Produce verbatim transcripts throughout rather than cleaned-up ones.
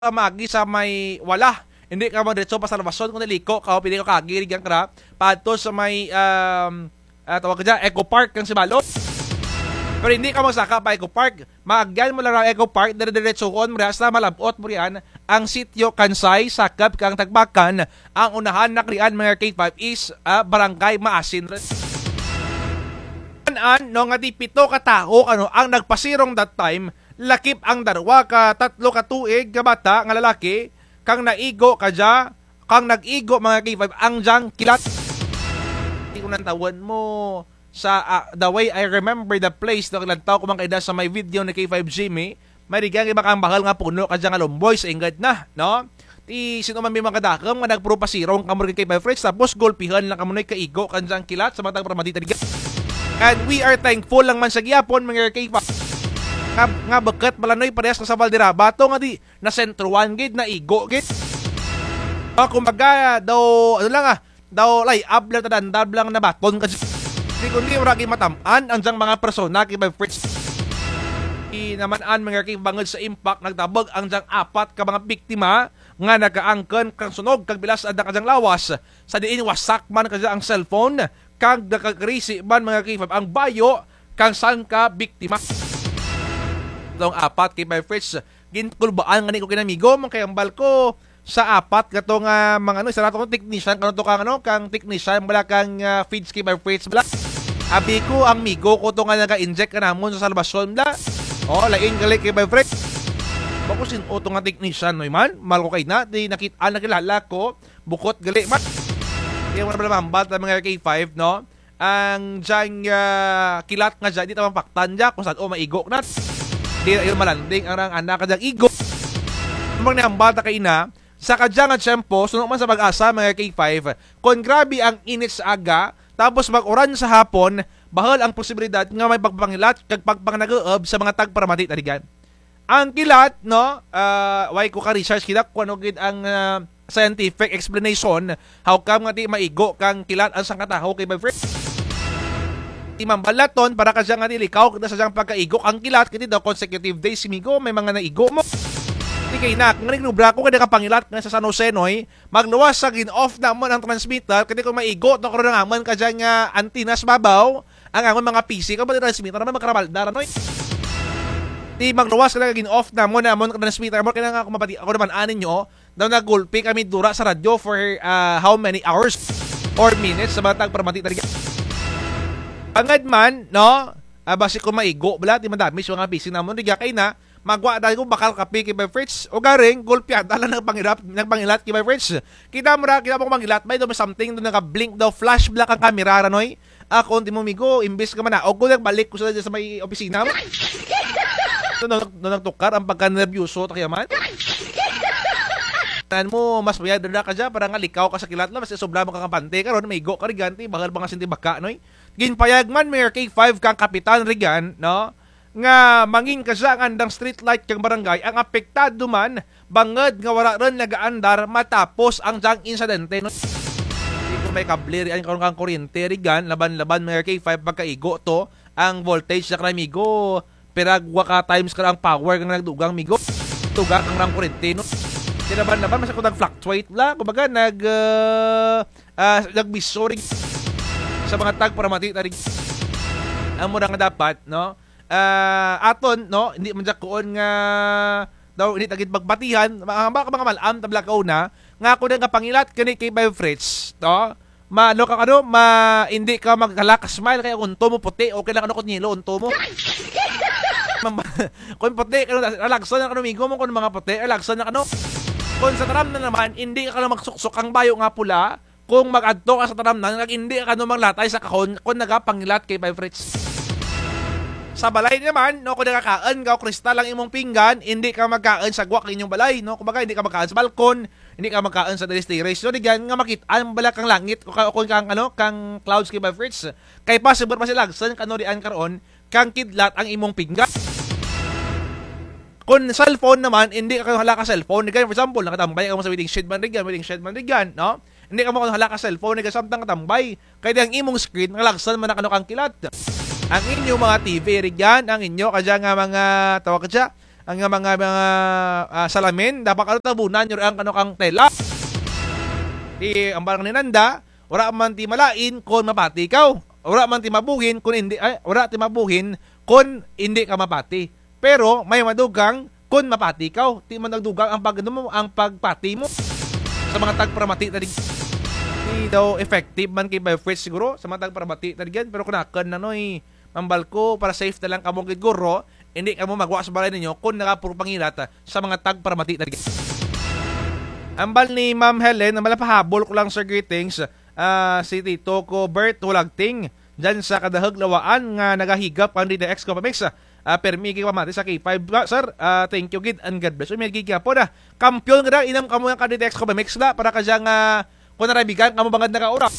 ka maagi sa may wala. Indi ka magdiretso pa Salvacion, kundi liko ka, o pwede ka kaagi rugyan kara paadto sa may, um, ah, tawag ka dyan, Eco Park kang Sibalom. Pero indi ka magsaka pa Eco Park. Maagyan mo lang ang Eco Park, dire-diretsohon mo riyan, sa malab-ot mo riyan ang Sitio Kansay, sakop kang Tagbakan. Ang unahan na karian, mga K five, is, ah, Barangay Maasin. An-an, no, nga di pito ka tawo, ano, ang nagpasirong that time, lakip ang darwa ka tatlo ka tuig nga bata nga lalaki, kang naigo kadya, kang nag-igo, mga K five, ang dyang kilat. Di ko nantawon mo sa, ah, the way I remember the place, no, kilantaw ko man kaina sa may video ni K five Jimmy, may rugyan iba kang bahal nga puno kadya nga lumboy sa inggad na, no? Ti sin-o man may mga kadakum nga nagpuro pasirong kamo rugyan K five Fritz, tapos gulpihan lang kamo noy kaigo kang dyang kilat sa mga tagparamati ta rugyan. And we are thankful lang man sa gihapon, mga K five, nga, nga bukut bala noy parehas na sa Valderrama to nga di nasentrohan gid, naigo gid. Ah, kumbaga, daw, ano lang, ah, daw lay-ab lang, tadandab lang nabaton ka. Di kundi wara gid matam-an ang dyang mga persona, K five Fritz. Di naman an mga K five bangud sa impact, nagtabog ang dyang apat ka mga biktima nga nakaangkon kang sunog kag bilas ang dyang lawas, sa diin wasak man kadya ang cellphone, kag nakagrisi man, mga K five, ang bayo kang sangka biktima. Tong apat, K five Fritz, ginkulbaan ngani ko kaina migo, man kay hambal ko sa apat kato nga mga ano, isa ra to technician, kano to kang ano, kang technician bala kang, ah, feeds, K five Fritz bala. Abi ko, ang migo ko to nga naga-inject kanamon sa Salvacion bala. O, lain gali, K five Fritz. Bako sin-o to nga technician, noy man, mal ko kaina, di nakit-an, nakilala ko. Bukut gali man. Di mo na pala mahambal ta, mga K five, no? Ang dyang, ah, kilat nga dya, di ta mapaktan dya kung san-o maigo na. Di na yun malanding ang, ang anak ka dyang igo. Ang nahambal ta kaina, sa kadya nga tiyempo, suno man sa PAGASA, mga K five, kung grabe ang init sa aga, tapos mag-uran sa hapon, bahul ang posibilidad nga may pagpangilat kag pagpangnag-uub sa mga tagparamati ta rugyan. Ang kilat, no, ah, way ko ka-research kita kung ano gid ang, ah, scientific explanation, how come nga di maigo kang kilat ang sangka tawo, K five Fritz? Ti mambal naton, para kadya nga di likaw kita sa dyang pagkaigo kang kilat, kay ti daw consecutive days, migo, may mga naigo mo. Ti kaina, kung nagdubra ko, kay nakapangilat nga sa San Jose, noy, magluwas sa gin-off namon ang transmitter, kay ti kung maigo to karon ang amon kadya nga antenna sa babaw, ang amon mga P C, kung pati transmitter naman, magkarabalda ra, noy. Ti magluwas ka lang, gin-off namon, amon transmitter, amon, kaya nga, kung mapati, ako naman, anin nyo, daw nagulpi kami dura sa radyo for, ah, how many hours or minutes sa mga tagparamati ta rugyan. Bangud man, no? Ah, basi kung maigo bala, ti madamage mga P C namon, rugya kaina, magwa dahil ko bakal kape, K five Fritz, ugaring, gulpyada lang nagpangilat, nagpangilat, K five Fritz. Kita mo ra, kita mo ko mangilat, may daw may something, daw naka-blink, daw flash bala kang kamera ra, noy. Ako, ti mo migo, imbis ka manaog ko, nagbalik ko sa, sa may opisina mo. No, no, no, nagtukar ang pagka-nervyoso, ta kaya man. Tan mo, mas mayad ra kadya, para nga likaw ka sa kilat lang, mas sobra mo kang kampante, karon, maigo ka rugyan, ti, bahul mga sinti baka, noy. Ginpayag man, Mayor K five, kang kapitan rugyan, no? Nga mangin kadya ang andang street light kang barangay, ang apektado man, bangud nga wara run nagaandar matapos ang dyang insidente, no? Di ko may kable rian karon kang kuryente, rugyan, laban-laban, mga K five, pagkaigo to, ang voltage na kara, migo, piragwa ka times kara ang power nga nagdugang, migo. Tugak ang rang kuryente, no? Ti laban-laban, mas ako nag-fluctuate la, kumbaga, nag, ah, ah, nagbiso rin sa mga tagparamati ta rin. Amo ra nga dapat, no? Ah, aton, no, hindi man dya kuon nga daw hindi ta gid magbatihan, ma-, ba ka mga mal-am ta bala kauna, nga ako nagapangilat kani kay Bay Fritz, no? Ma-, ano ka, ano, ma-, hindi ka maghala ka smile kay unto mo puti, okay lang ano kung yelo unto mo. Mam-, kung puti, kano, alagsan na kano, migo mo, kung mga puti, alagsan na kano. Kung sa taramnan naman, hindi ka kano magsuksok ang bayo nga pula, kung mag-adto ka sa taramnan, kag hindi ka kano maglatay sa kahon, kung nagapangilat kay Bay Fritz. Sa balay naman, no, kung nagakaon ka o kristal ang imong pinggan, hindi ka magkaon sa gwak inyong balay, no? Kumbaga, hindi ka magkaon sa balkon, hindi ka magkaon sa terrace-terrace. So, di dyan nga makit-an bala kang langit, o ka-, o kung kang, ano, kang clouds kay Bay Fritz. Kay possible pa sila, agsan kano rian karon, kang kidlat ang imong pinggan. Kung cellphone naman, hindi ka hala ka cellphone. Di dyan, for example, nakatambay ka mo sa waiting shed man, di dyan, waiting shed man, di dyan, no? Hindi ka mo hala ka cellphone, nagasamtang katambay. Kay di ang imong screen, nalagsan man na kano kang kilat. Ang inyo mga T V, ri dyan, ang inyo, kadya nga mga, tawag ka dya, ang mga, mga, ah, salamin, dapat kano tabunan ninyo ang kano kang tela. Ti, ang barang ni nanda, wara man ti malain kon mapati ikaw. Wara man ti mabuhin kon indi, ay, wara ti mabuhin kon indi ka mapati. Pero may madugang kon mapati ikaw. Ti man nagdugang ang pag-, ano mo, ang pagpati mo. Sa mga tagparamati tadi, di daw effective man kay Biofreeze siguro sa mga tagparamati tadi gid. Pero kon akun, Noy, mambal ko, para safe na lang kamo gid guro, indi kamo magwa sa balay ninyo kon nagapuro pangilat sa mga tagparamati tadi gid. Ambal ni Ma'am Helen, ambal, pahabol ko lang, sir, greetings. Ah, si tito ko, Bert Hulagting, dyan sa Kadahug, Lawaan, nga nagahigap kang D T X Coffee Mix. Ah, permi kay pamati sa K five, ah, sir. Ah, thank you gid and God bless. Uy, may gid gyapon, ah. Kampiyon ka na, inam kamo kang D T X Coffee Mix na, para kadya nga, kon narabigan kamo bangud nakaura,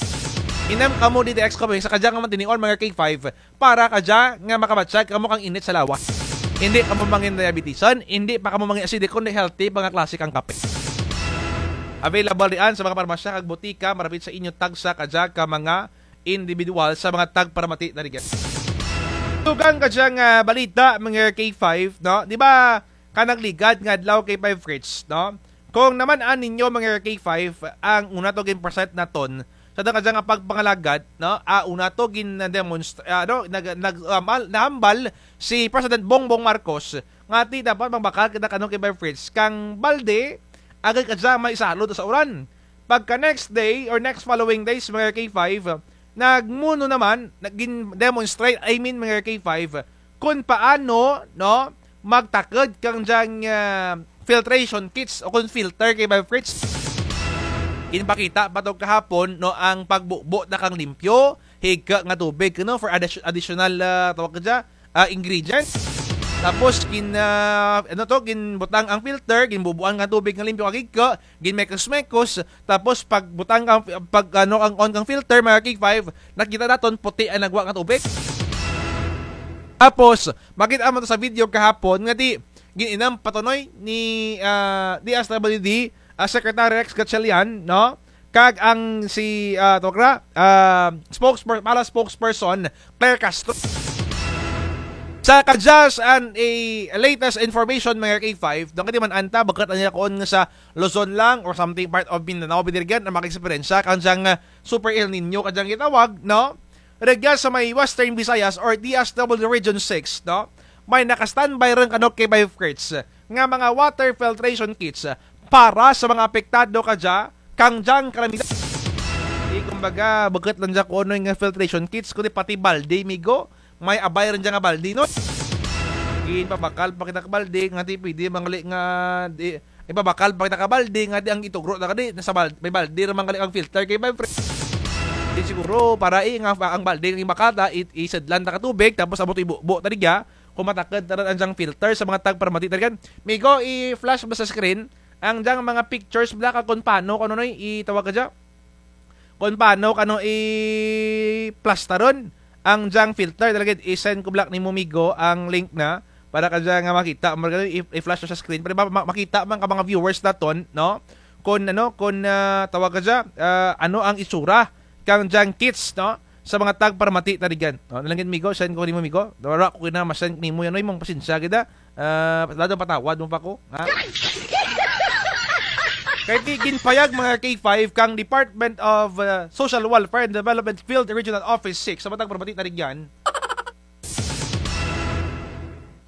inam kamo D T X Coffee Mix, sa kadya nga mantinion, mga K five, para kadya nga makabatyag kamo kang init sa lawas. Indi kamo mangin diabetisan, indi pa kamo mangin acidic, kundi healthy pa nga klase kang kape. Available diyan sa mga parmasya kag botika, marapit sa inyo tagsa kadya ka mga individual sa mga tagparamati na rigyan. Dugang kadya nga balita, mga K five, no? Di ba, kanagligad nga adlaw, K five Fritz, no? Kon naman-an ninyo, mga K five, ang una to gin-present naton sa kadya nga pagpangalagad, no? Ah, una to gin-demonst-, ah, ano, nag-, nag-, ah, mal-, nahambal si President Bongbong Marcos nga ti dapat magbakal kita kano, K five Fritz, kang balde, agud kadya may isalod sa uran. Pagka next day or next following days, mga K five, nagmuno naman, nagin-demonstrate, I mean, mga K five, kon paano, no, magtakud kang dyang, ah, filtration kits o kon filter, K five Fritz. Ginpakita pa to kahapon, no, ang pagbubo na kang limpyo, higka nga tubig, no, for addi-, additional, ah, tawag ka dya, ah, ingredient. Tapos gin, ah, ano to, ginbutang ang filter, ginbubuan nga tubig nga limpyo kag higka, ginmekos-mekos, tapos pagbutang kang, pag, ano, ang on kang filter, mga K five, nakita naton puti ang nagwa nga tubig. Tapos, makita mo to sa video kahapon, nga ti, gin-inam pa to, Noy, ni, ah, D S W D, ah, Secretary Rex Gatchalian, no? Kag ang si, ah, tawag ra, ah, spokesper-, pala spokesperson, Claire Castro. Sa kadya sa an-, a latest information, mga K five, daw kay ti man-an ta, bukut ania kon nga sa Luzon lang or something part of Mindanao, bidirgan ang makaeksperyensya kang dyang, ah, Super El Niño kadyang gitawag, no? Rugya sa may Western Visayas or D S W Region six, no? May naka-standby run kano, K five Fritz, nga mga water filtration kits para sa mga apektado kadya kang dyang kalamidad. Di, kumbaga, bukut lang dya kon ano nga filtration kits, kundi pati balde, migo. May abay run dya nga balde, no? Ginpabakal pa kita ka balde, nga ti pwede mangali nga di, ipabakal pa kita ka balde, nga ti ang itugro na kadi, nasa bal-, may balde ra mangali ang filter, K five Fritz. Di siguro, para, eh, nga ang balde nga bakal ta, i-, isadlan ta ka tubig, tapos amo to ibubo ta rigya, kon matakud ta run ang dyang filter sa mga tagparamati ta rigyan. Migo, i-flash mo sa screen, ang dyang mga pictures bala kag kon paano, kon ano, Noy, itawag kadya? Kon paano kano i-plastaron ang dyang filter. Talaga, i-send ko bala nimo, migo, ang link na para kadya nga makita mo, i-, i-flash sa screen para ma-, ma-, makita man ka mga viewers naton, no? Kon ano, kon, ah, tawag kadya, ah, ano ang itsura kang dyang kits, no? Sa mga tagparamati ta rigyan. No? Nalangin, migo, send ko nimo, migo. Wara ko kina ma-send nimo yan, Noy, mong pasensya kita. Ah, lalo patawad mo pa ko, ha? Kay ti ginpayag, mga K five, kang Department of, ah, Social Welfare and Development Field Regional Office six, sa mga tagparamati ta rigyan,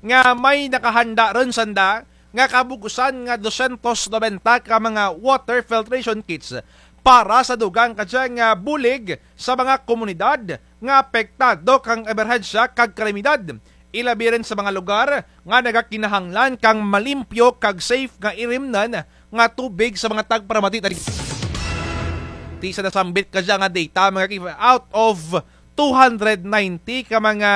nga may nakahanda run sanda nga kabug-usan nga dosyentos nobenta ka mga water filtration kits para sa dugang kadya nga bulig sa mga komunidad nga apektado kang emerhensya kag kalamidad. Ilabi run sa mga lugar nga nagakinahanglan kang malimpyo kag safe nga irimnan nga tubig sa mga tagparamati ta ri-. Ti sa nasambit kadya nga data, mga K five, out of two hundred ninety ka mga,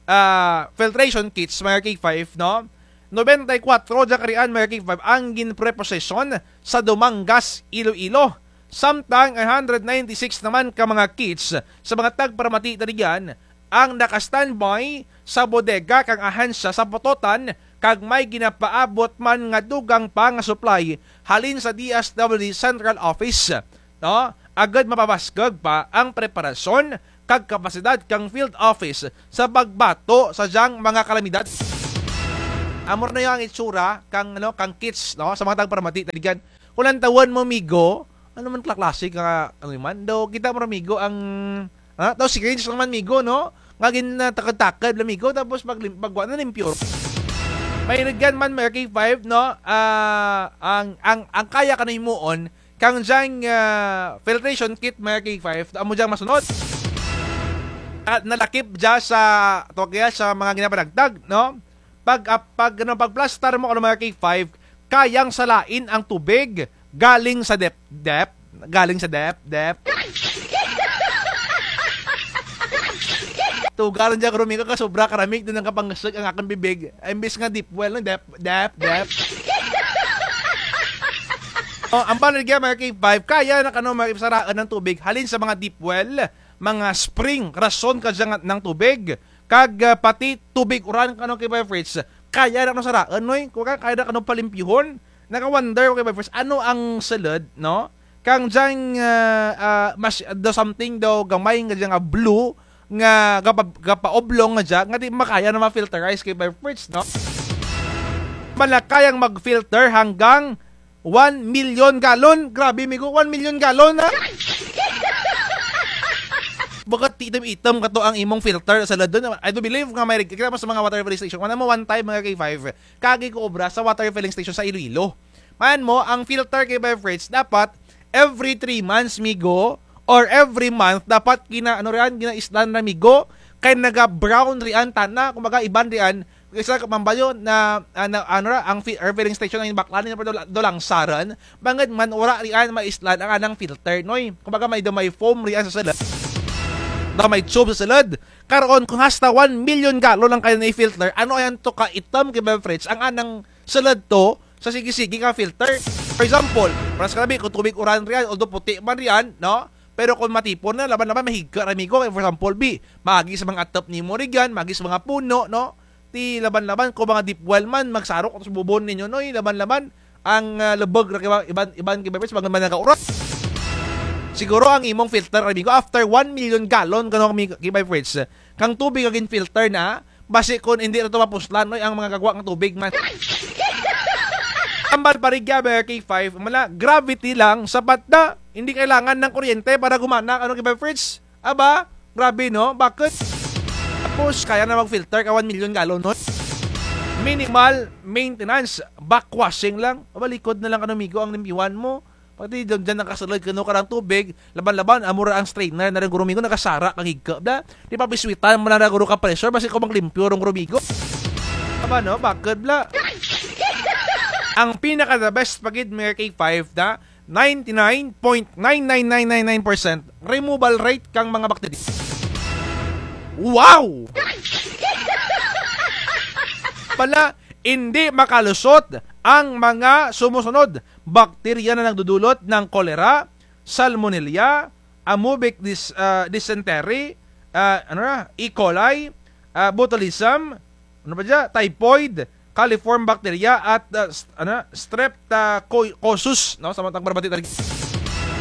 ah, filtration kits, mga K five, no? Nobenta y kwatro dya karian, mga K five, ang ginpreposesyon sa Dumangas, Iloilo. Samtang ang hundred ninety-six naman ka mga kits sa mga tagparamati ta rigyan ang naka-standby sa bodega kang ahensya sa Pototan, kag may ginapaabot man nga dugang pa nga supply halin sa D S W D Central Office, no? Agud mapabaskug pa ang preparasyon kag kapasidad kang field office sa pagbato sa dyang mga kalamidad. Amo ra na ang itsura kang, ano, kang kits, no? Sa mga tagparamati, taligan. Kung lantawon mo, migo, ano man kla-, klase ka, ano man, daw kita mo ra, migo, ang, ah, daw syringe lang man, migo, no? Nga gin-, ah, takad-takad lang, migo, tapos pag lim-, pagwa na, limpyo. May rugyan man, mga K five, no? Ah, ang, ang, ang kaya kano himuon, kang dyang, ah, filtration kit, mga K five, amo dyang masunod. At nalakip dya sa, tawag kaya sa mga ginapanagtag, no? Pag, ah, pag, ano, pagplastar mo, ano, mga K five, kayang salain ang tubig galing sa dep-, dep-, galing sa dep-, dep-. Tuga run dya, Romigo, kay sobra karamig, dun ang kapangasug ang akun bibig. Imbis nga deep well, no? Dep-, dep-, dep-. O, ang panagya, mga K five, kaya na kano, mga K five, saraan ang tubig halin sa mga deep well, mga spring, rason ka dyan ng tubig, kag, ah, pati tubig uran kano, K five Fritz, kaya na kano saraan, noy? Kung ka-, kaya na kano palimpyuhon, naka-wonder ko, K five Fritz, ano ang sulud, no? Kang dyang, ah, ah, mas, daw something daw gamay nga dyang, ah, blue, nga gapa-, gapaoblong nga dya, nga di makaya na ma-filterize, K five Fritz, no? Malakayang mag-filter hanggang one million gallon. Grabe, migo, one million gallon, ha? Bakit itom-itom kato ang imong filter sa sulud dun? I do believe nga may reg-, kita mo sa mga water filling station. Wala mo one time, mga K five, kagi ko obra sa water filling station sa Iloilo. Man mo, ang filter, K five Fritz, dapat every three months, migo, or every month, dapat gina-, ano riyan, ginaislan ra, migo, kay naga-brown riyan tana, kumbaga, iban riyan, kaysa mambayo na, ah, na, ano ra, ang fi-, air filling station ang baklan, pero do-, do lang saran, bangud man, wara riyan maislan ang anang filter, noy. Kumbaga, may, daw may foam riyan sa sulud. Daw may tube sa sulud. Karon, kung hasta one million gallon ang kaya na i-filter, ano ayan to ka itom, K five Fritz, ang anang sulud to, sa sige-sige nga filter. For example, paras kami, kung tubig uran riyan, although puti man riyan, no? Pero kung matipon na, laban-laban, mahigka ra, migo. Kay for example, bi, maagi sa mga atop nimo riyan, maagi sa mga puno, no? Ti laban-laban, kung mga deep well man, magsarok sa bubon ninyo, noy, laban-laban, ang, ah, lubog ra kay iban, iban, K five Fritz, mga man nagauran. Siguro ang imong filter, migo, after one million gallon, kano, K five Fritz, kang tubig nga gin-filter na, basi kun indi na to mapuslan, noy, ang mga gagwa nga tubig man. Ambal pa rugya, mga K five, mala, gravity lang, sapat na. Hindi kailangan ng kuryente para gumana, ano, K five Fritz? Aba, grabe, no? Bakit? Tapos, kaya na mag-filter ka one million gallon, no? Minimal maintenance, backwashing lang. Aba, likod na lang, ano, migo, ang limpyuhan mo. Pati dyan, dyan nakasulod kano karang tubig, laban-laban, amo ra ang strainer na run guro, migo, nakasara kang higka, bla. Di pa biswitan mo lang ra guro ka pressure, basi ko maglimpyo run guro, migo. Tama, no? Bakit, bla? Ang pinaka the best pa gid, mga K five, na ninety-nine point nine nine nine nine nine percent removal rate kang mga bakterya. Wow! Pala, hindi makalusot ang mga sumusunod bakterya na nagdudulot ng kolera, salmonella, amoebic dys-, ah, dysentery, ah, ano na, E. coli, ah, botulism, ano pa dyan? Typhoid, coliform bacteria, at, ah, st-, ano, streptococcus, no? Sa mga tagparamati talaga.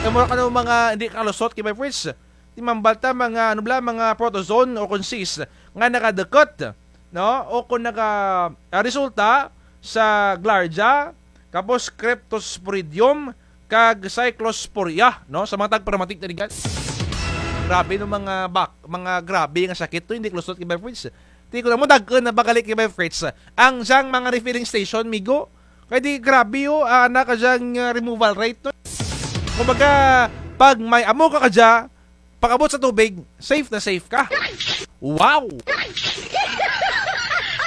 Kaya mura ka ng mga hindi kalusot, K five Fritz. Ti mambal ta mga, ano bla, mga protozoan o kung cyst nga nakadukot, no? O kung naka, ah, resulta sa giardia, tapos cryptosporidium, kag cyclosporia, no? Sa mga tagparamati talaga. Grabe no mga bak-, mga grabe nga sakit to, hindi kalusot, K five Fritz. Ti ko na mo, dag-un na ba gali, K five Fritz, ang dyang mga refilling station, migo. Kay di grabe, o, ah, ana ka dyang, ah, removal rate, no? Kumbaga, pag may amo ka kadya, pag-abot sa tubig, safe na safe ka. Wow!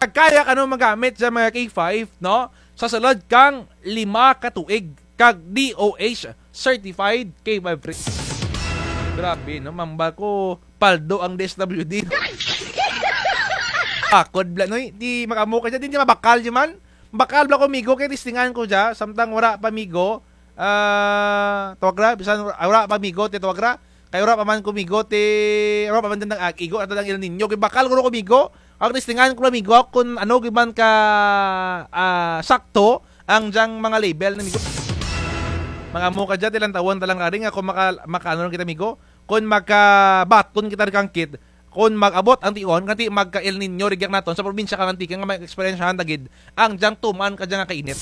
Kaya kano magamit sa mga K five, no? Sa sulod kang lima ka tuig, kag D O H certified, K five Fritz. Grabe, no? Mambal ko, paldo ang D S W D. Akod bla, noy. Di mag-amo ka dyan, di, di mabakal dyan man. Bakal bla ko, migo, kay testingan ko dya, samtang wara pa, migo. Ah, tawag ra, bisan wara, wara pa, migo, ti tawag ra. Kay wara pa man ko, migo, ti, wara pa man dyan nag-ag-, igo, ato ng El Niño. Kay bakal ko, migo. Ang testingan ko, migo, kung ano, giban ka, ah, sakto, ang dyang mga label na, migo. Mag-amo ka dyan, ti lantawon ta lang ari nga kung maka-, maka-, ano lang kita, migo. Kung makabaton kita kang kit, kon mag-abot ang tion, kanti magka-El Niño rugya naton sa probinsya kang Antique nga ma-experience-han ta gid ang dyang tuman kadya nga kainit.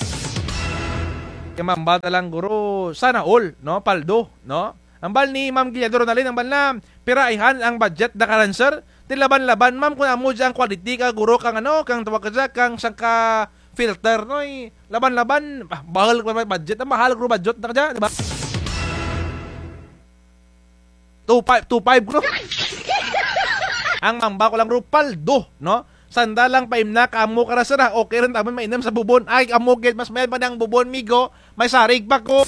Kaya ma'am, hambal ta lang guro, sana all, no? Paldo, no? Hambal ni Ma'am Guillermo Ronaldin, hambal na, pira ayhan ang budget na karan, sir? Ti laban-laban, ma'am, kon amo dya ang quality ka guro kang ano, kang tawag kadya, kang sangka filter, no? Ay, laban-laban, ah, bahul ka budget, ang mahal guro budget na kadya, di ba? Two five, two five guro. Ang ma'am, hambal ko lang guro, paldo, no? Sanda lang paimna ka amo kara, sir, ha? Okay run ta man mainum sa bubon. Ay, amo gid, mas mayad pa ang bubon, migo. May sarig pa ko.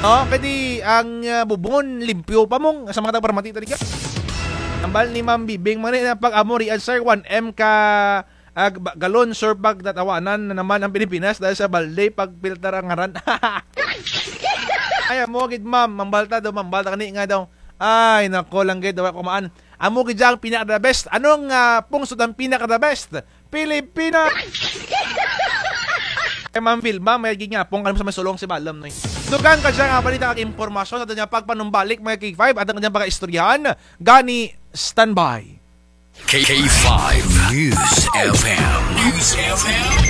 No? Kay ti ang, ah, bubon, limpyo pa mong, sa mga tagparmati talaga. Hambal ni Ma'am Bibing, mani na pag-amo rian, sir, one M ka, ah, ba-, galon, sir, pag natawanan na naman ang Pilipinas dahil sa balde, pag-filter ang ngaran. Ay, amo gid, ma'am. Hambal ta daw, hambal ta kani nga daw. Ay, nako lang gid, daw ako maan. Amo gid dya ang pinaka-the best. Anong, ah, pungsod ang pinaka-the best? Pilipinas! Kay Ma'am Vilma, may gid nga pong alam sa may sulong si Balom, no? Dugang kadya nga balita kag impormasyon sa aton nga pagpanumbalik, mga K five, aton kadya pagaistoryahan. Gani, standby. K five News F M. News F M.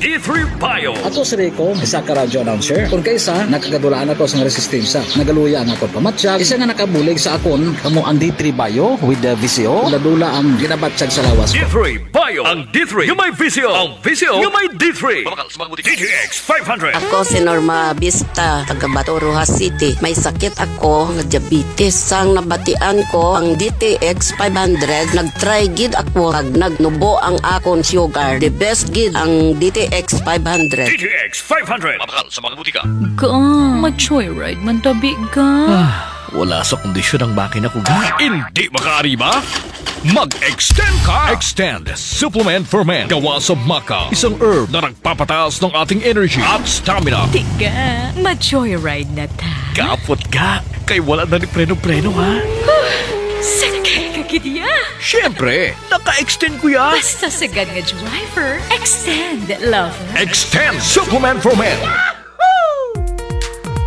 D three Bio. Ato si Rico, isa ka radyo announcer. Kon kaisa, nakagadulaan ako sa nga resistensya. Nagaluya ang akon pamatyag. Isa nga nakabulig sa akon, kamo ang D three Bio with the V C O. Dula-dula ang ginabatyag sa lawas ko. D three Bio. Ang D three nga may V C O. Ang V C O nga may D three. Mabakal sa mga butika. D T X five hundred. Ako si Norma Bista, taga Bato, Roxas City. May sakit ako nga diabetes. Sang nabatian ko ang D T X five hundred, nag-try gid ako, kag nagnubo ang akon sugar. The best gid ang D T X five hundred. D T X five hundred. Mabakal sa mga butika. Ga, ma-joyride man tabi, ga. Ah, wala sa kondisyon ang makina ko, ga. Indi makaariba? Mag-extend ka! Extend Supplement for Men. Gawa sa maca, isang herb na nagpapataas ng ating energy at stamina. Tiga, ma-joyride na ta. Kapot, ga. Kay wala na ni preno-preno, ha? Huh, sakay ka gid ya. Siyempre, naka-extend ko ya. Basta sagad nga driver, extend, lover. Extend Supplement for Men.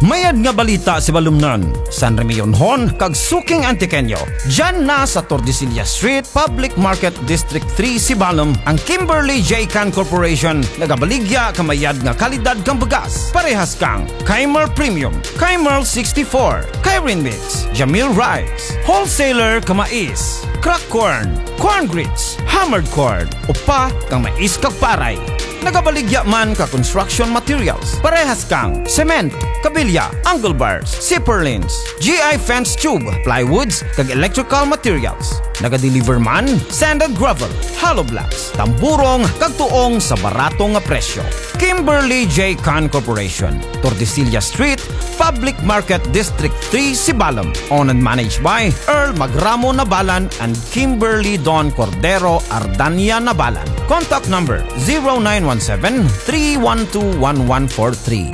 Mayad nga balita, Sibalomnon, San Remigionhon, kag suking Antiqueño. Dyan na sa Tordesillas Street, Public Market, District three, Sibalom, ang Kimberly J Can Corporation, nagabaligya ka mayad nga kalidad kang bugas. Parehas kang Keimer Premium, Keimer sixty-four, Keirin Mix, Jamil Rice, Wholesaler ka mais, Crack Corn, Corn Grits, Hammered Corn, upa kang mais kag paray. Nagabaligya man ka construction materials, parehas kang cement, kabilya, angle bars, zipper lines, G I fence tube, plywoods, kag electrical materials. Nagadeliver man sand and gravel, hollow blocks, tamburong, kag tuong sa barato nga presyo. Kimberly J Can Corporation, Tordesillas Street, Public Market, District three, Sibalom. Owned and managed by Earl Magramo Nabalan and Kimberly Don Cordero Ardania Nabalan. Contact number zero nine one seven, three one two, one one four three.